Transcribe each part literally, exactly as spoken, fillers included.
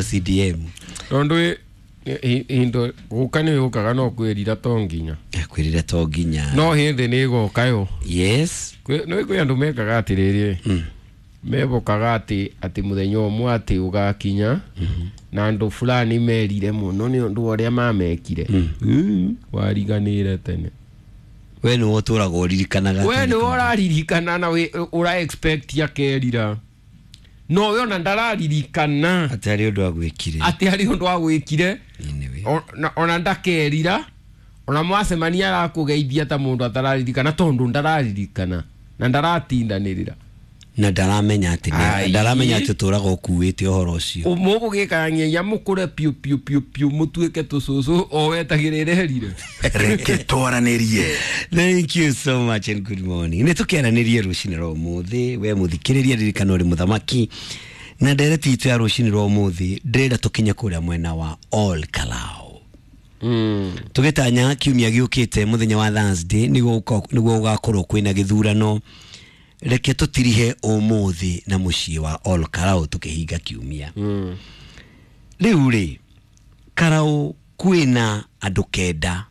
C D M. Tondu indo guka nĩ gũkaga no kwĩrira to nginya. Kwĩrira to nginya. No hĩndĩ nĩ ĩgoka yo. Yes. Nĩ kwĩ andũ mekaga atĩrĩrĩ, mebokaga atĩ atĩ mũthenya ũmwe atĩ ũgakinya na andũ fulani merire mũno nĩ ũndũ wa ũrĩa mamekire. Mm. Wariganĩre tene. We nĩwe ũtũraga ũririkanaga. We nĩwe ũraririkana na wĩ- ũra expect akerira, no we ona ndararirikana atĩ harĩ ũndũ agwĩkire. Atĩ harĩ ũndũ agwĩkire. Anyway. O- na- ona ndakerira, ona mwacemania arakũgeithia ta mũndũ atararirikana, tondũ ndararirikana na ndaratindanĩrĩra. Na ndaramenya atĩ nĩ- Ai. Ndaramenya atĩ ũtũraga ũkuĩte ũhoro ũcio. Mũgũgĩkarania mũkũre piũ piũ piũ piũ, mũtuĩke tũcũcũ o wetagĩrĩra erire. Reke twaranĩrie. Thank you so much and good morning. Nĩ tũkĩaranĩrie rũcinĩ rwa ũmũthĩ. We mũthikĩrĩria, ririkana ũrĩ mũthamaki na ndereti itũ ya rũcinĩ rwa ũmũthĩ, ndĩrenda tũkinye kũrĩa mwena wa Ol Kalou. mm. Tũgĩtanya kiumia gĩũkĩte mũthenya wa Thursday nĩguo gũka- nĩguo gũgakorwo kwĩna gĩthurano. Reke tũtirihe ũmũthĩ na mũciĩ wa Ol Kalou tũkĩhinga kiumia. Mm. Rĩu rĩ, Karau kwĩna andũ kenda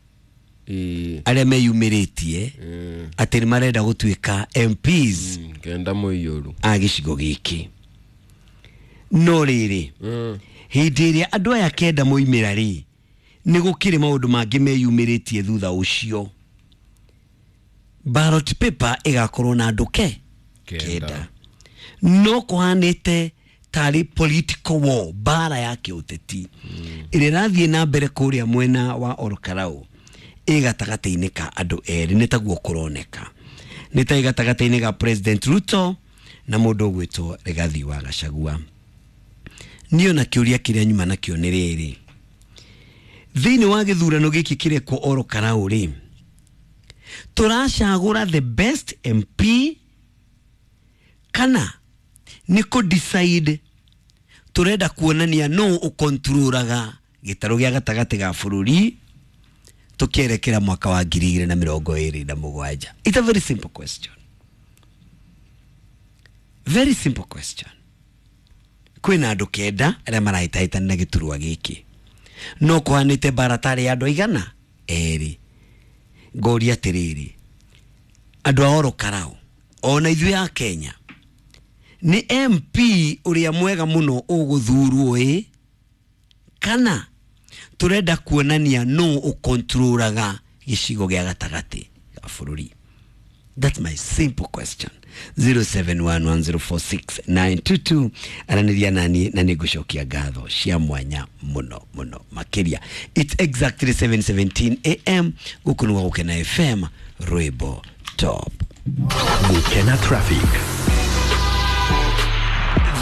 Ĩĩ. arĩa meyumĩrĩtie Mm. atĩ nĩ marenda gũtuĩka M Ps Mm. kenda mũiyũru a gĩcigo gĩkĩ. No rĩrĩ, Mm. hĩndĩ ĩrĩa andũ aya kenda moimĩra rĩ, nĩ gũkĩrĩ maũndũ mangĩ meyumĩrĩtie thutha ũcio. Ballot paper ĩgakorwo na andũ ke Kenda. Kenda, no kũhanĩte tarĩ political war, mbara ya kĩũteti ĩrĩa ĩrathiĩ na mbere kũrĩa mwena wa Ol Kalou ĩ gatagatĩ-inĩ ka andũ erĩ. Nĩ taguo kũroneka, nĩ ta ĩ gatagatĩ-inĩ ga President Ruto na mũndũ ũgwĩtwo Rigathi wa Gachagua. Niĩ ona kĩũria kĩrĩa nyuma nakĩo nĩ rĩrĩ: thĩinĩ wa gĩthurano gĩkĩ kĩrekwo Ol Kalou rĩ, tũracagũra the best M P kana nĩ kũ decide tũrenda kuonania no ũkontrolaga gĩtarũ gĩa gatagatĩ ga bũrũri tũkĩerekera mwaka wa ngiri igĩrĩ na mĩrongo ĩrĩ na mũgwanja? It's a very simple question, very simple question. Kwĩna andũ kenda arĩa marahĩtahĩtana na gĩturwa gĩkĩ, no kũhanĩte mbara tarĩ ya andũ aigana erĩ. Ngoria atĩrĩrĩ, andũ a Ol Kalou ona ithuĩ a Kenya, nĩ M P ũrĩa mwega mũno ũgũthurwo ĩ, kana tũrenda kuonania no ũkontrolaga gĩcigo gĩa gatagatĩ ga bũrũri? That's my simple question. zero seven one one zero four six nine two two, aranĩria nani na nĩ ngũcokia ngatho cia mwanya mũno mũno makĩria. It's exactly seven seventeen a m. Gũkũ nĩ gwa Gũkena F M, rwĩmbo top. Gukena traffic.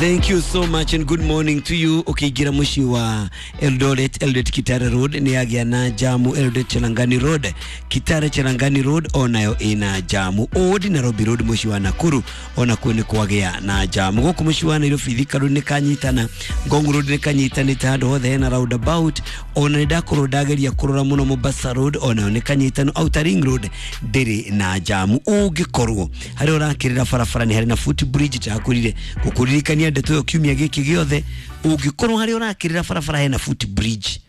Thank you so much and good morning to you. Ukiingira muciĩ wa Eldoret, Eldoret Kitale Road nĩ yagĩa na jamu. Eldoret Cherangani Road, Kitale Cherangani Road onayo ĩna jamu. Old Nairobi Road mũciĩ wa Nakuru onakuo nĩ kwagĩa na jamu. Gũkũ mũciĩ wa Nairobi, Thika Road nĩ kanyitana, Ngong Road nĩ kanyitanĩte, handũ hothe hena roundabout. Ona nĩ ndakorwo ndageria kũrora mũno, Mombasa Road onayo nĩ kanyitano. Outer Ring Road ndĩrĩ na jamu. Ũngĩkorwo harĩa ũrakĩrĩra barabara nĩ harĩ na foot bridge, ndakwĩrire gũkũririkania ndeto ĩyo kiumia gĩkĩ gĩothe. Ũngĩkorwo harĩa ũrakĩrĩra barabara hena foot bridge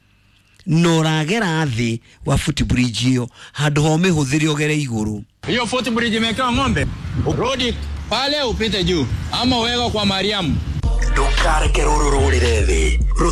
na ũragera thĩ wa foot bridge ĩyo, handũ ha ũmĩhũthĩre ũgere igũrũ. Hiyo footbridge imewekewa ng'ombe, rudi pale upite juu ama uweke kwa Mariamu. Ndũkareke rũrũ rũrĩre thĩ.